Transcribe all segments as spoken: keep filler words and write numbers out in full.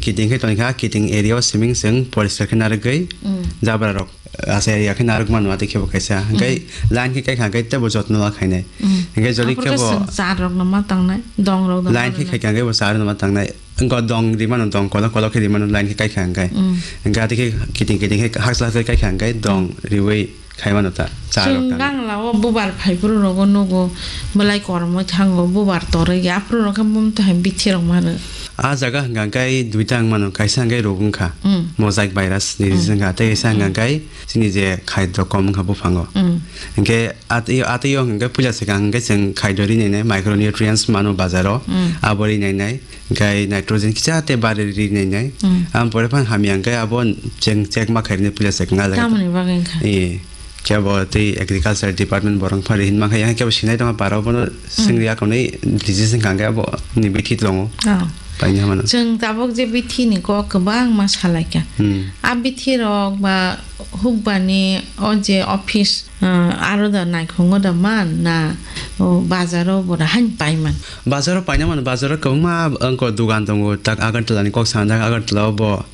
Kiting khe tongkha, kiting area o siming chwng poriskar khe narwgwi Mm. jabra rok asa area khe narwk mano, atwi khe bo kaisa. Hwnkhe Mm. line khe kaikha hwnkhe teibo jotno la khainai. Mm. Hwnkhe jodi Aphuru khe khe bo chwng char rok no ma tangnai, dong rok no line ma khe tangnai. Khaikha hwnkhe bo char no ma tangnai. Wngkha dong ri mano, dong kolok kolok khe ri mano, line khe kaikha hwnkhe. Mm. Hwnkhe atwi khe kiting kiting khe hakchla khe kaikha hwnkhe dong riwi khai mano ta, cha rok Chwng tang. Gangla o bubar phai phuru rogo nugo, belai kormo thango, bubar torwi ya phuru rok khe mum to hai bithi rok mano. A jaga hwnkha khe duita wng mano, kaisa hwnkhe rog wngkha, Mm. mosaic virus ni Mm. reason wngkha, tei kaisa hwnkha Mm. khe chini je khaidro kom wngkha buphango. Mm. Hwnkhe atwi, atwi o hwnkhe puila swkang hwnkhe chwng khaidro ri nainai, micronutrients mano bazaro, Mm. abo ri nainai. Hwnkhe nitrogen kisa tei bari ri nainai. Mm. Am pore phang hamya hwnkhe abo cheng check ma khairni pila se kwnga jaga. Tamoni bagwi wngkha? Ee, khe bo tei agriculture department borok phari hinma khe, khe bo sinai tongma para bono sengri akonwi disease wngkha hwnkhe abo ni bithi tongo. Oh. Paina mano. Chwng tabuk je bithi ni kok kwbangma salaikha. Hmm. A bithi rok ba hukbani o je office, ah, aro da naikhungo da man na, o bazaro bo da hain pai man? Bazaro paina mano, bazaro kwbangma wngkha dugan tongo, tak Agartala ni kok sana, tak Agartala o bo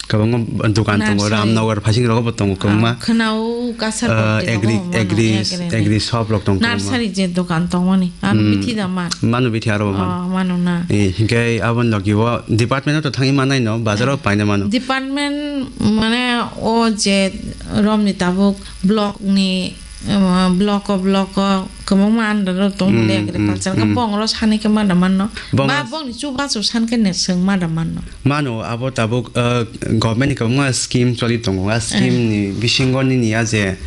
kwbangma dugan tongo, Nursery. Ramnagar phasing rogo bo tongo kwbangma. Ah, khwnao kasar Ah, kok agri, tongo, mano agri, agri. Agri shop rok tong kwbangma. Nursery je dugan tongmani, ano Hmm. bithi da man? Mano bithi aro bo man. Oh, mano na. Eh, hinkhe aboni logi o department o to thangwi manai no, bazaro paina mano. Department mane o je romni tabuk block ni, um, block o, block o kwbangma under o tong Mm, le agriculture mm, khe mm. Bongro sani khe ma da manno. Bongro Ba s- bongni chubachu san khe ne swng ma da manno. Mano abo tabuk, uh, government ni kwbangma scheme choli tongo. A scheme Eh. Ni bisingo nini ya je,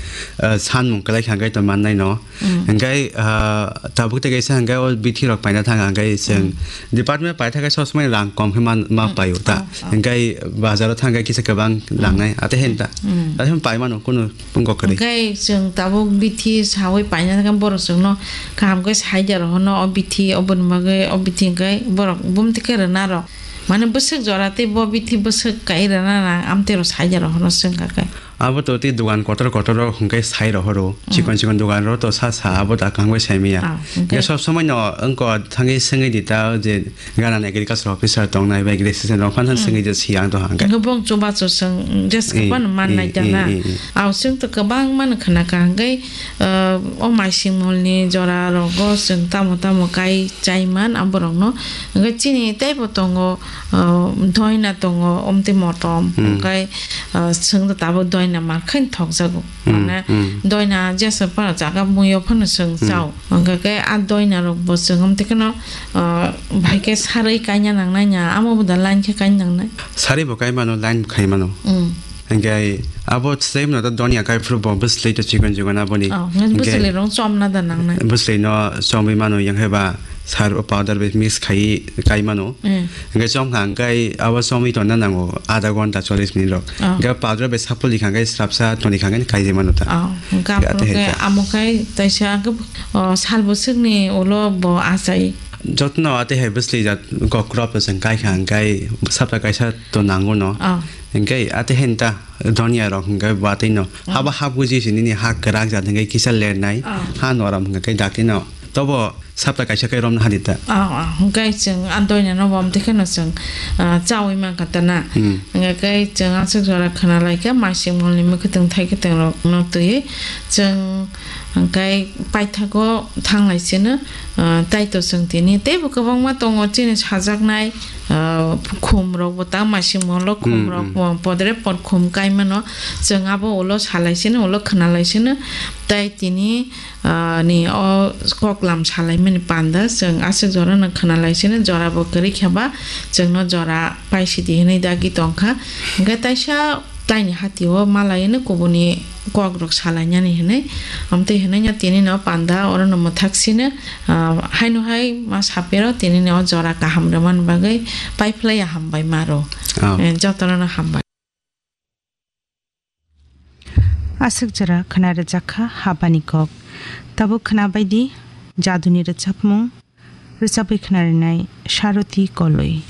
uh, sanmung kwlai kha hwnkhe to mannai no. Mm. Hwnkhe, ah, tabuk tei kaisa hwnkhe o bithi rok paina thang hwnkhe chwng Mm. department pai thangkhe sob somai rang kom khe man, ma Mm. paio ta. Oh, oh. Hwnkhe bazaro thangkhe kisa kwbang Mm. Rangnai. Ate hen ta. Mm. Ate hen pai mano kunu pungko kwrwi. Hwnkhe chwng tabuk bithi sawi paina thangkhe borok chwngno kaham khe sai da rohono o bithi oboni bagwi o bithi hwnkhe borok bumti khe rwna rok. Mane bwswk jora tei bo bithi bwswk kai rwna rang amtwi rok sai da rohono chwng kha khe. Abo to tei dugan kotor kotor rok hwnkhe sai rohoro. Mm. Chikon chikon dugan rok to sa sa abo ta kaham khe sai maya. Ah, hwnkhe? Hwnkhe sob somai no wngko thangwi swngwi di ta je gana agriculture officer tongnai bai agriculture rok phan Mm. Swngwi di si ang to hwnkhe. Hwnkhe bong chubachu swng jes Eh, kwbangma man eh, nai da eh, na. Eh, eh. Aw chwng to kwbangma no khna kha hwnkhe, ah, o maising mol ni jora rogo chwng tamo tamo kai chai man aborok no. Hwnkhe chini teibo tongo, ah, doina tongo, omtwi motom, Hmm. hwnkhe, ah, chwng tabuk doina mar khe thokjago. Hmm, Mane hmm. Doina jesa phano jaga muiyo phano chwng Hmm. Chao. Hwnkhe khe a doina rok bo chwng omtwi kheno, ah, bai khe sarwi kaina nangnai ya, amo bo da line khe kaina nangnai. Sarwi bo kai mano, line bo khai mano. Hmm. Hwnkhe abo same no to donya kai phuru bo bwsli to chikon chikon aboni. Oh, hwnkhe Hwnkhe bwsli rong chomna da nangnai. Bwsli no chomwi mano yang hai ba sar o powder bai mix khai kai mano. Mm. Hwnkhe chom kha hwnkhe abo chomwi tonna nango adha ghonta chollish minute rok. Oh. Hwnkhe powder bai sapuli kha hwnkhe srapsa toni kha hwnkhe kai je mano ta. Oh, hwnkhe Hwnkhe aphuru athe khe hai ta. Amo khai taisa hwnkhe, oh, sal bwswkni ulo bo achai. Jotno athe hai bwsli jat kokrop to chwng kai kha hwnkhe sapta kaisa to nango no. Oh. Hwnkhe athe hen ta. Donya rok hwnkhe batwi no. Mm. Haba hap gwi si nini ha kwrak jat hwnkhe kisa lernai. Ah. Ha norom hwnkhe dakti no. Tobo sapta kaisa khe romna hadi ta. Ah, ah, hwnkhe chwng a doina no bom twi kheno chwng, ah, chawi mankha ta na. Hmm. Hwnkhe chwng aswk jora khna lai khe maising mol ni mwkhwtwng thai kwtwng rok no twi chwng hwnkhe paithago thang lai sino, ah, tai to chwng tini teibo kwbangma tongo chini sajaknai. Ah, khum rok bo ta maising molo khum Hmm, rok hmm. Bo podre pod khum kai mano. Chwng abo ulo salai sino, ulo khna lai sino. Tai tini, ah, ni o koklam salai mani panda chwng aswk jora no khna lai sino, jora bo kwrwi khe ba chwng no jora pai sidi hinwi dagi tong kha. Hwnkhe taisa taini hati o malai no kubuni kok rok salai nani hinwi. Amtwi hinwi no tini no panda oro no mwthak sino. Ah, haino hai ma sapero tini ni o jora kaham rwmani bagwi paiphlaiya hambai maro. Ah. Eh, jotono no hambai. Aswk jora khna rwjak kha habani kok. Tabuk khna baidi jaduni rwchapmung, rwchapwi khna rinai Saroti Koloi.